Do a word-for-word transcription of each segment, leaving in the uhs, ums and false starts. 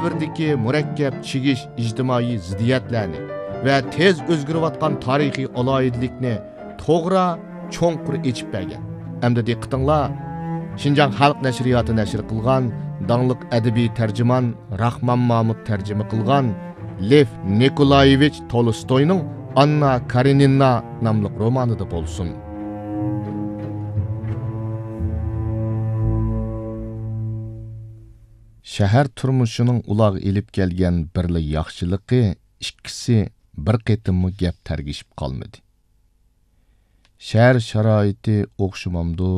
دەۋردىكى مۇرەككەپ چىگىش ئىجتىمائىي زىددىيەتلەرنى ۋە تېز ئۆزگىرىۋاتقان تارىخىي ئالاھىدىلىكنى توغرا، چوڭقۇر ئېچىپ بەرگەن. ئەمدى دىققىتىڭلار، شىنجاڭ خەلق نەشرىياتى نەشر قىلغان داڭلىق ئەدەبىي تەرجىمان راخمان مامۇت تەرجىمە قىلغان لېف نىكولايېۋىچ تولستوينىڭ ئاننا كارېنىنا ناملىق رومانىدا بولسۇن. شەھەر تۇرمۇشىنىڭ ئۇلارغا ئېلىپ كەلگەن بىرلا ياخشىلىقى، ئىككىسى بىر قېتىممۇ گەپ تەرگىشىپ قالمىدى. شەھەر شارائىتى ئوخشىمامدۇ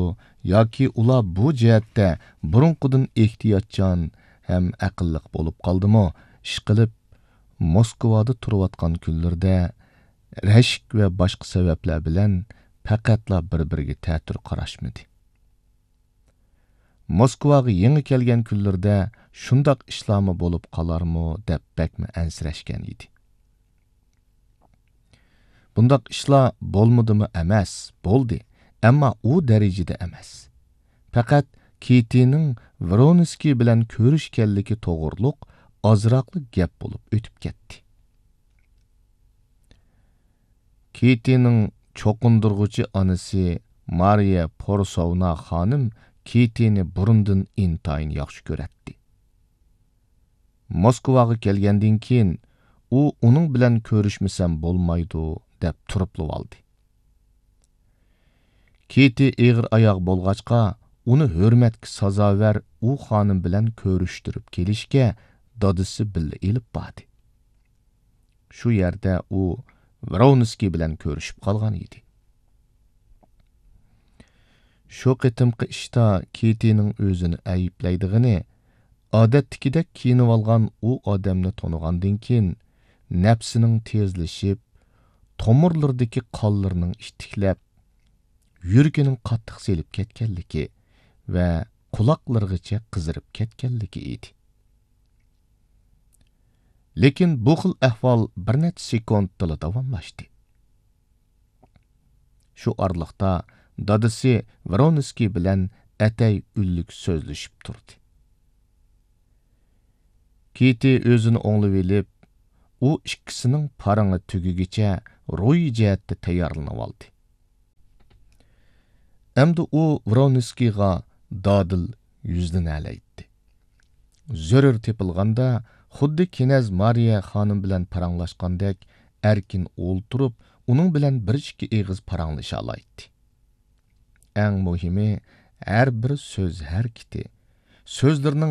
ياكى ئۇلار بۇ جەھەتتە بۇرۇنقىدىن ئېھتىياتچان ھەم ئەقىللىق بولۇپ قالدىمۇ، ئىشقىلىپ، موسكۋادا تۇرۇۋاتقان كۈنلىرىدە رەشك ۋە باشقا سەۋەبلەر بىلەن پەقەتلا بىر-بىرىگە تەتۈر قاراشمىدى. موسكۋاغا يېڭى كەلگەن كۈنلىرىدە شۇنداق ئىشلارمۇ بولۇپ قالارمۇ دەپ بەكمۇ ئەنسىرەشكەن ئىدى. بۇنداق ئىشلار بولمىدىمۇ ئەمەس، بولدى، ئەمما ئۇ دەرىجىدە ئەمەس. پەقەت كىتىنىڭ ۋرونسكىي بىلەن كۆرۈشكەنلىكى توغرۇلۇق ئازراقلا گەپ بولۇپ ئۆتۈپ كەتتى. كىتىنىڭ چوقۇندۇرغۇچى ئانىسى مارىيە پورسوۋنا خانىم كىتىنى بۇرۇندىن ئىنتايىن ياخشى كۆرەتتى. موسكۋاغا كەلگەندىن كېيىن، ئۇ ئۇنىڭ بىلەن كۆرۈشمىسەم بولمايدۇ، دەپ تۇرۇپلىۋالدى. كىتى ئېغىر ئاياغ بولغاچقا، ئۇنى ھۆرمەتكە سازاۋەر ئۇ خانىم بىلەن كۆرۈشتۈرۈپ كېلىشكە دادىسى بىللە ئېلىپ باردى. شۇ يەردە ئۇ ۋرونسكىي بىلەن كۆرۈشۈپ قالغان ئىدى. شۇ قېتىمقى ئىشتا كىتىنىڭ ئۆزىنى ئەيىبلەيدىغىنى، ئادەتتىكىدەك كىيىنىۋالغان ئۇ ئادەمنى تونۇغاندىن كېيىن، نەپسىنىڭ تېزلىشىپ، تومۇرلىرىدىكى قانلىرىنىڭ ئىتتىكلەپ، يۈرىكىنىڭ قاتتىق سېلىپ كەتكەنلىكى ۋە قۇلاقلىرىغىچە قىزىرىپ كەتكەنلىكى ئىدى. لېكىن بۇ خىل ئەھۋال بىر نەچچە سېكۇنتتىلا داۋاملاشتى. شۇ ئارىلىقتا دادىسى ۋرونسكىي بىلەن ئەتەي ئۈنلۈك سۆزلىشىپ تۇردى. كىتى ئۆزىنى ئوڭلىۋېلىپ، ئۇ ئىككىسىنىڭ پارىڭى تۈگىگىچە روھىي جەھەتتە تەييارلىنىۋالدى. ئەمدى ئۇ ۋرونسكىيغا دادىل يۈزلىنەلەيتتى. زۆرۈر تېپىلغاندا، خۇددى كىنەز مارىيە خانىم بىلەن پاراڭلاشقاندەك ئەركىن ئولتۇرۇپ، ئۇنىڭ بىلەن بىر ئىككى ئېغىز پاراڭلىشالايتتى. ئەڭ مۇھىمى، ھەر بىر سۆز ھەرىكىتى، سۆزلىرىنىڭ